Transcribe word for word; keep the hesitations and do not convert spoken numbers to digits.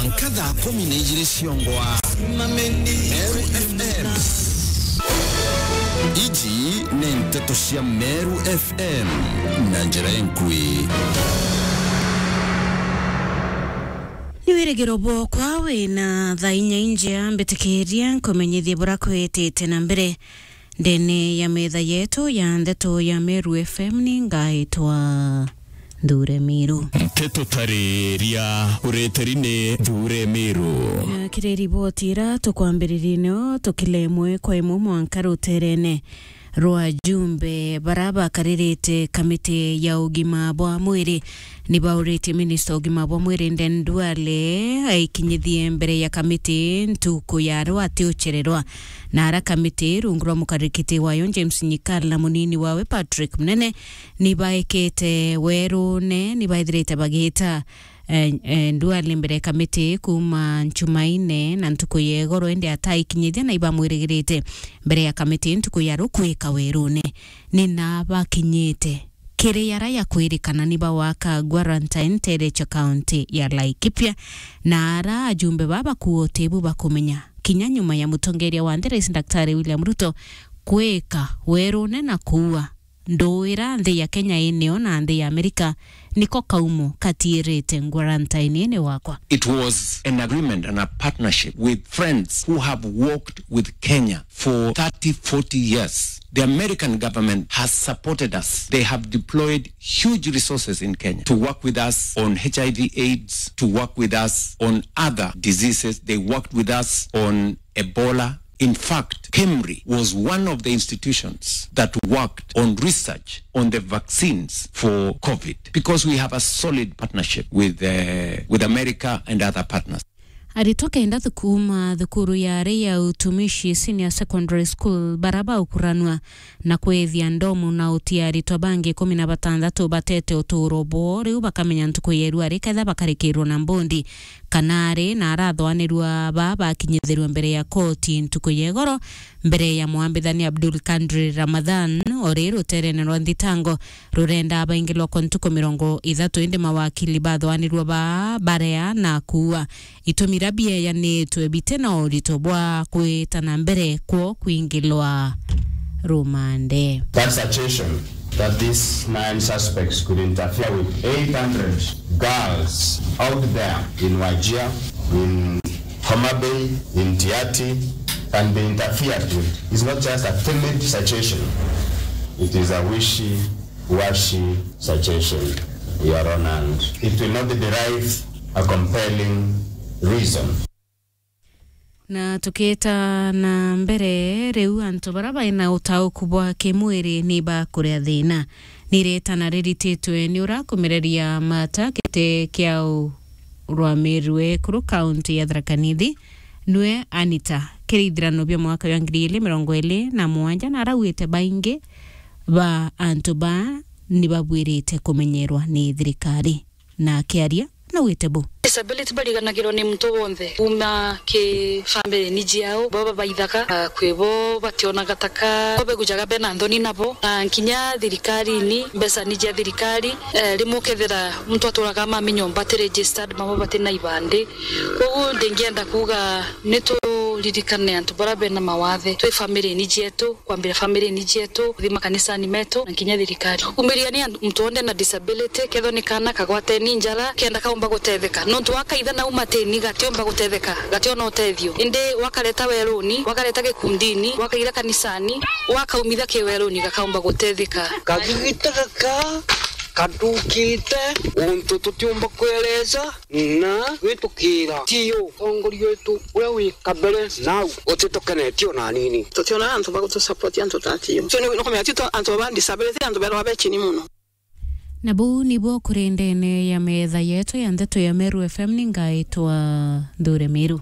Mwanka thaa kumi na ijiri ciongwa. Meru F M. Iji ni nteto cia Meru F M na njira enkui. Ni wirigiro bwokwa wina thaa inya injea, mbitikiria nkumenyithie bura kwitite na mbere. Ndene ya metha yetu ya ndeto ya Meru F M ni ngaitwa Nthure Miru. Nteto tariria ureteri ni Nthure Miru. Na kiri riboti ira tukwambiririe nio tukile imwe kwa imwe mwanka ruterene rwa ajumbe bara bakaririte kamiti ya ugima bwa mwiri. Ni bauritie minista ugima bwa mwiri Aden Duale aikinyithie mbere ya kamiti ntuku ya rwa ati uchererwa. Na ara kamiti rungu rwa mukarikiti wayo James Nyikala na munini wawe Patrick Munene ni baikite werune, ni baithirite bagita, eh, eh, Duale mbere ya kamiti kuma Nchumaine na ntuku ya igoro, indi ataikinyithia na ibamwirigirite mbere ya kamiti ntuku ya rukwika werune. Ni na bakinyite kiri ara ya kwirikana ni bawaka quarantine ntere cha kaunti ya Laikipia, na ara ajumbe baba kuote bu bakumenya kinya nyuma ya mutongeria wa nthi Rais Daktari William Ruto kwika werune na kuua nduira nthi ya Kenya inio na nthi ya Amerika niko kaumo katiirite quarantine ini wakwa. It was an agreement and a partnership with friends who have worked with Kenya for thirty, forty years. The American government has supported us. They have deployed huge resources in Kenya to work with us on H I V AIDS, to work with us on other diseases. They worked with us on Ebola. In fact, KEMRI was one of the institutions that worked on research on the vaccines for COVID because we have a solid partnership with, uh, with America and other partners. Aritwa kenda thukuma thukuru yari ya Utumishi Senior Secondary School bara baukuranwa na kwithia ndomu na uti aritwa bangi kumi na batantatu batete uturo bwoo, riu bakamenya ntuku ya irua ri ketha bakarikirwa na mbondi kana ari na arathwanirua ba bakinyithirwe mbere ya koti ntuku ya igoro mbere ya mwambithania Abdul Kadri Ramadhan ori ruterene rwa nthitango rurenda abaingilwa kwa ntuku mirongo ithatu, indi mawakili bathwanirua ba barea na kuua. Itumi ira bieyanitwe biti na urito bwa kwita na mbere kwo kwingilwa rumande. That suggestion that these nine suspects could interfere with eight hundred girls out there in Wajir, in Homa Bay, in Tiaty, can be interfered with is not just a timid suggestion, it is a wishy-washy suggestion, Your Honor, and it will not derive a compelling reason. Na tukiita na mbere, riu antu bara baina utauku bwa kimwiri ni bakuria thina. Ni ritana rirititwe ni urakumireria mata giti kia u-, rwamirue kuru kaunti ya Tharaka Nithi, nwe Anita. Kiri ithirano bia mwaka wa ngiri ili mirongo ili na mugwanja na arauite baingi ba antu ba ni babwirite kumenyerwa ni thirikari. Na akiaria, naugite bu. Disability bariganagirwo ni muntu wonthe, kuma ki family ni jiao, bo babaithaga, ah, kwi bo bationaga taka, bo begujaga bena nthoni nabo, na nkinya thirikarini, mbeca ni cia thirikari, eh, rimwe ukethira muntu aturaga mami nyomba ati registered, mama bati na ibandi. Koguo ndingienda kuuga ni turirikane antu bara bena mawathe, twi family ni jietu, kwambira family ni jietu, kuthi makanisani metu, na nkinya thirikari. Umiria ni antu, muntu wonthe na disability, kethwa ni kana kagwateni njara, kenda kaumba gutetheka. Nontu wakaitha na umatini gatiumba gutetheka, gationa utethio. Indi wakareta weruni, wakareta gikundini, wakaira kanisani, wakaumitha ki weruni gakaumba gutetheka. Kagigita gaka kathukite untu tutiumba kwereza. Na gwitukira tiyo utongoria wetu uria wi kabere nau utitukenetie ona anini. Tutiona antu ba gutusupport antu ta tiyo. So ni nukumenya ti antu ba disability, antu berwa be chini muno. Na buu nibo kuri ndene ya metha yetu ya ndeto ya Meru F M, ni ngaitwa Nthure Miru.